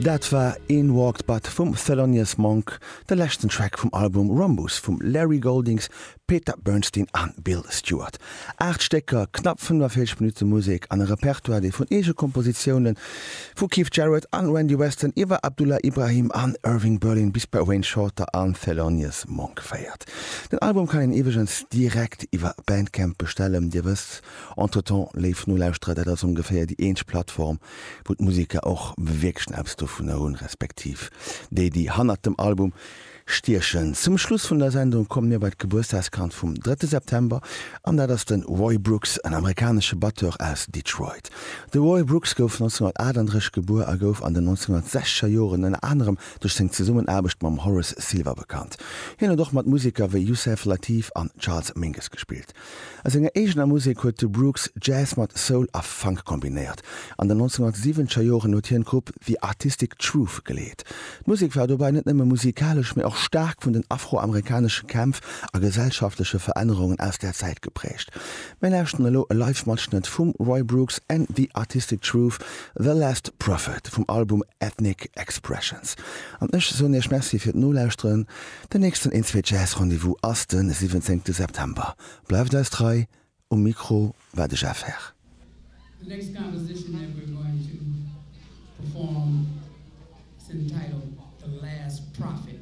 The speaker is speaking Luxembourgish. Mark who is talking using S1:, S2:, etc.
S1: Dat war In Walked Bud vum Thelonious Monk, de leschten Track vum Album Rhombus vum Larry Goldings, Peter Bernstein a Bill Stewart. 8 Stécker, knapp 45 Minutte Musek an e Repertoire, dee vun Eegekompositioune vu Keith Jarrett an Randy Weston iwwer Abdullah Ibrahim an Irving Berlin bis bei Wayne Shorter an Thelonious Monk féiert. Den Album kann een iwwregens direkt iwwer Bandcamp bestellen. Dir wësst entretemps, léif Nolauschterer, dat ass ongeféier déi eenzeg Plattform, wou d'Museker och wierklech eppes dovunner hunn, respektiv déi, déi hannert dem Album stiechen. Zum Schluss vun der Sendung komme mir bei d'Gebuertsdagskand vum drëtte September, an dat ass de Roy Brooks, en amerikanesche Batteur aus Detroit. De Roy Brooks gouf 1938 gebuer a gouf an den 1960er Joren ënner anerem duerch seng Zesummenaarbecht mam Horace Silver bekannt. Hien huet och mat Museker wéi Yusef Lateef an Charles Mingus gespillt. A senger eegener Musek huet de Brooks Jazz mat Soul a Funk kombinéiert. An den 1970er Joren huet hien d'Grupp The Artistic Truth geleet. D'Musek war dobäi net nëmme musikalesch, mee och staark vun den afroamerikanesche Kämpf a gesellschaftleche Verännerungen aus där Zäit geprägt. Mir lauschteren elo e Live-Matschnëtt vum Roy Brooks and The Artistic Truth, The Last Prophet vum Album Ethnic Expressions. An ech soen iech Merci fir d'Nolauschteren. Den nächsten Een-Zwee Jazz Rendez-vous ass de 17 September. Bleift eis trei, um Mikro war de Jeff Herr.
S2: The next composition that we're going to perform is entitled The Last Prophet.